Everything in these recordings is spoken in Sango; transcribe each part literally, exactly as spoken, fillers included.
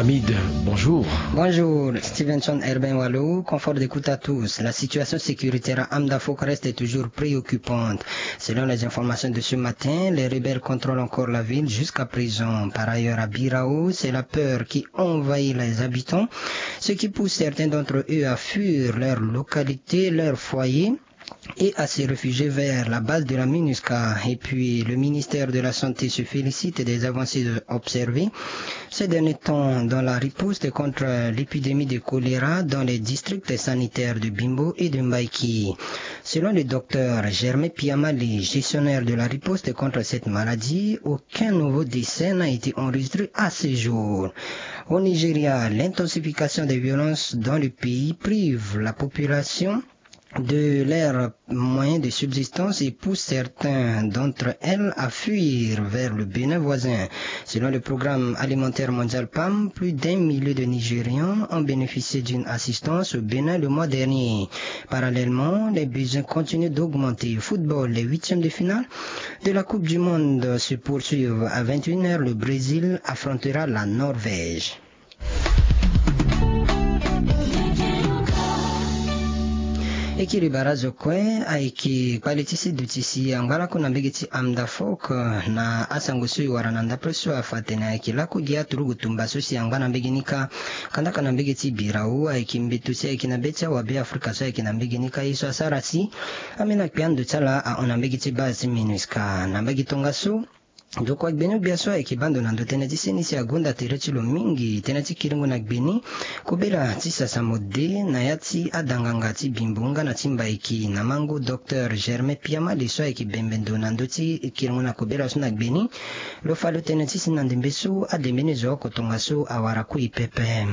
Hamid, bonjour. Bonjour, Stevenson Herbin Walo, confort d'écoute à tous. La situation sécuritaire à Amdafok reste toujours préoccupante. Selon les informations de ce matin, les rebelles contrôlent encore la ville jusqu'à présent. Par ailleurs, à Birao, c'est la peur qui envahit les habitants, ce qui pousse certains d'entre eux à fuir leur localité, leur foyer, et à se réfugier vers la base de la MINUSCA. Et puis, le ministère de la Santé se félicite des avancées observées ces derniers temps dans la riposte contre l'épidémie de choléra dans les districts sanitaires de Bimbo et de Mbaïki. Selon le docteur Germain Piamali, gestionnaire de la riposte contre cette maladie, aucun nouveau décès n'a été enregistré à ce jour. Au Nigeria, l'intensification des violences dans le pays prive la population de leurs moyens de subsistance et pousse certains d'entre elles à fuir vers le Bénin voisin. Selon le programme alimentaire mondial PAM, plus d'un millier de Nigérians ont bénéficié d'une assistance au Bénin le mois dernier. Parallèlement, les besoins continuent d'augmenter. Football, les huitièmes de finale de la Coupe du Monde se poursuivent. À vingt et une heures, le Brésil affrontera la Norvège. E kiri barazo kue ayeke kpale ti si duti si angba laku na mbege ti Amdafok na asango so e wara na ndapre so afa atene ayeke laku gi aturugu tumba so si angba na mbege ni kâ. Kandaka na mbege ti Birao ayeke mbeto si ayeke na be ti awabe Afrika so ayeke na mbege ni kâ ye so asara si ambeni akpia ndo ti ala ahon na mbege ti base ti MINUSCA na mbage tongaso. Ndokua gbeni ogbia so ayeke baa ndo na ndo tënë ti seni si agonda tere ti lo mingi tënë ti kiringo na gbeni kobela ti sasa mode na ya ti adanganga ti Bimbo nga na ti Mbaiki na mango docteur Germain Piamali so ayeke bembe ndo na ndö ti kiringo na kobela so na gbeni. Lo fa lo tënë ti si na ndembe so adembe ni zo oko tongaso awara kui pepe.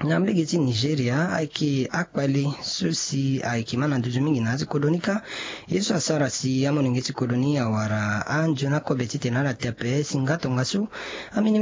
Na mbege ti Nigeria ayeke akpale so si ayeke ma na nduzu mingi na ya ti kodro ni kâ. Ye so asara si amolenge ti kodro ni awara anzoni akobe titene ala te ape si nga tongaso ambeni